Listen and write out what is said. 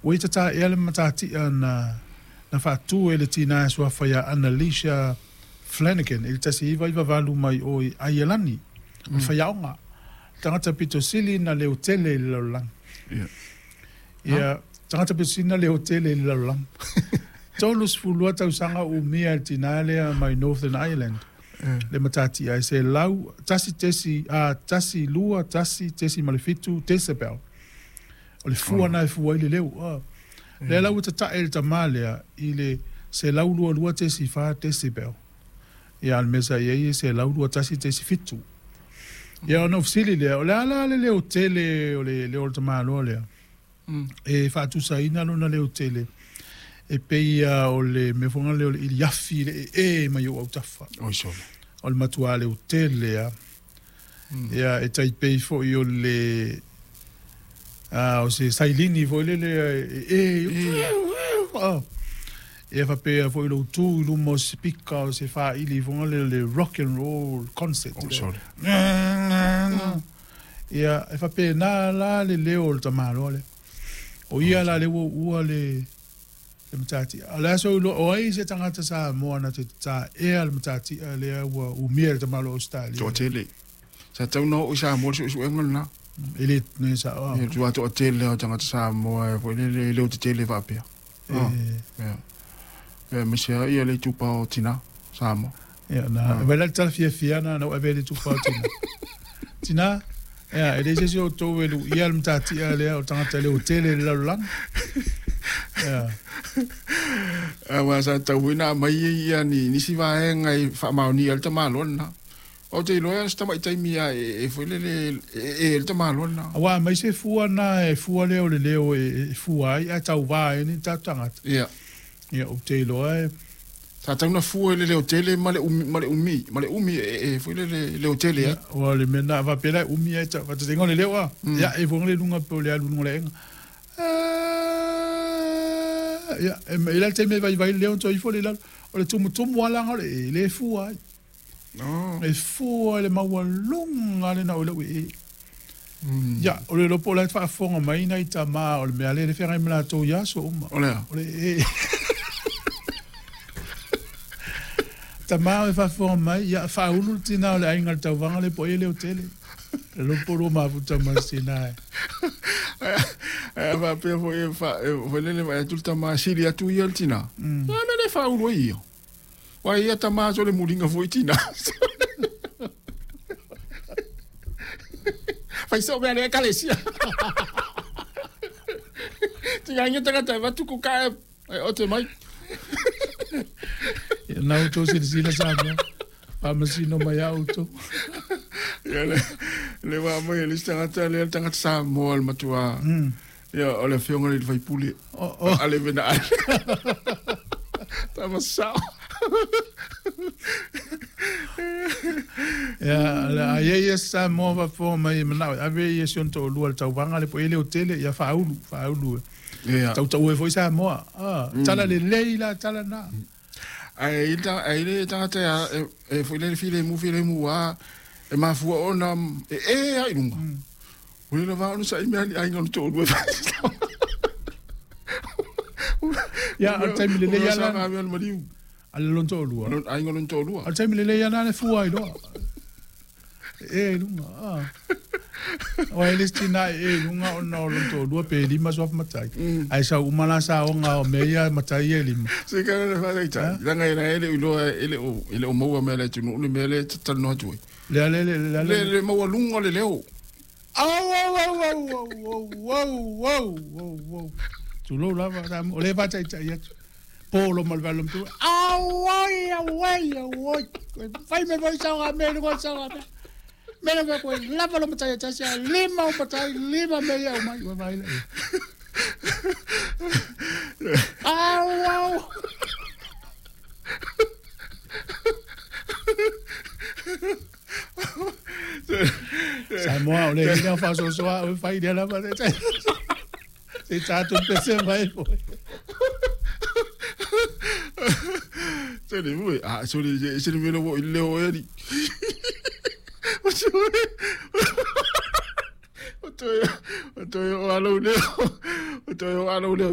Ua ia tata'ea le matatia na faatu e le tinā e suafa ia Annalisa Flanagan i le 1998 mai o i Aielani, o le faiaoga, le tagata pito sili na leotele i le lalolagi. Ia, tagata pito sili na leotele i le lalolagi. 32 tausaga o umia e le tinā lea mai Northern Ireland le matatia e 1, 1, 2, 1.7 decibel. O le fua na e fua ai le leo. Lea la ua tata'e le tamā lea i le 122.4 decibel. Ia, a o le mea sa i ai e 121.7. Ia, ona ou fesili lea, o le a la le leotele o le leo o le tamāloa lea? E faatusaina lona leotele e pei o le mea foi lea o le iliafi le ee mai ou autafa. Oi sole. O le matua leotele a. Ia, e taipei foi o le o se sailini foi lele e ia faapea foi lou tu i luma o se pika o se faaili foi lele le rock and roll concert. Oh, sorry. Ia, e faapena la le leo o le tamāloa lea. O ia la le ua uua le matatia. O le aso o ai se tagata Samoa na te tata'ea le matatia lea ua umia e le tamāloa Ausetalia? Toatele. Sa tau na oo i Samoa le suesuega lena. E le ne sa'o. Ia, tua toatele o tagata Samoa e foi lele e leo tetele faapea. Ia. Ia, aemaise ai ia le itupa o tinā Samoa. Ia, na vai la le tala fiafia na ou ave ai le itupa o tinā. Tinā, ia, e leai se isi o outou e lu'ia le matatia lea o le tagata leotele i le lalolagi. Ia. Aua sa tatau foi ona aumai ia ni nisi vaega e faamaonia ai le tamaloa lena. Ou te iloa e se tamaitaimi a e foi lele e le tamaloa lena. Aua aumai se fua na e fua lea o le leo e fua ai ae tauvā ai ni tatou tagata. Ia. Ia, ou te iloa e Sa tau na fua i le leotele ma le umi ma le umi ma le umi e foi lele leotele ai. Ua le mea na faapea la e umi ai faataitaiga o le leo a. Ia, e foi le luga pe o le alu i luga o le aega. Ia, e i ai le taimi e vaivai le leo ona toe ifo lea i lalo. O le tumutumu lava laga o le e, le fua ai. E fua i le maualuga lena o lau ee. Ia, o le iloa po o la e faafofoga mai nai tamā o le mea lea e feagai ma latou i aso uma. O le a? O le ee. Tamā o e faafofoga mai, ia, faaulu le tinā o le aiga i le tauvaga lea po o ai e leotele. Le iloa po o lua mafuta ma si tinā e. Ae a faapea foi e foi lele vaai atu le tama e sili atu ia i le tinā. Ia mea le faaulu ai ia. Aua e ia tama so le muliga foi i tinā. Fai soo mea le ekalesia. Tigaina tagata e avatu kuka e ote mai. Ia, na outou silasila Samoa, faamasino mai a outou. Ia le ua aumai e le isi tagata lea le tagata Samoa le matua. Ia o le afioga i le faipule. Ale vena ale. Tama sao. Ia, a ia ia Samoa faafofoga mai e manao e ave ia si ona toalua i le tauvaga lea po o i ai leotele, ia faaulu, faaulu. Ia. Tautau ai foi Samoa. Tala lelei la tala na. Ae i le tagata e foi lele filemu filemu a e mafua ona e e ai lunga. Ua le lava ona sa'i mea ni aiga o le toalua e fai. Ia, o le taimi lelei ala. Sa le maliu. A le lona toalua. Aiga o lona toalua. O le taimi lelei ala le fua ai loa. E i luga. Aua e le isi tinā e e i luga ona o lona toalua pe 5 suafa matai. Ae sau uma la saoga o mea ia matai ia e 5. Se kana le faataitai. Leaga e le o iloa e le o maua mea le atunuu le mea lea e talanoa atu ai. Le le le le le maualuga o le leo. Au au au au au au au au au. Tulou lava, o lea e faataitai atu. Polo ma le valo matua. Au oi au oi au oi. Fai me foi saoga me luga saoga me. Me le koe lava lo matai tasi a lima o matai lima me ia mai ua vai le. Au au. Samoa o le ina faasoasoa o fai lea lava se tatou pese mai foi. Se le mue, a so le se le mele wo ile o eri. O to o to o alo leo. O to o alo leo.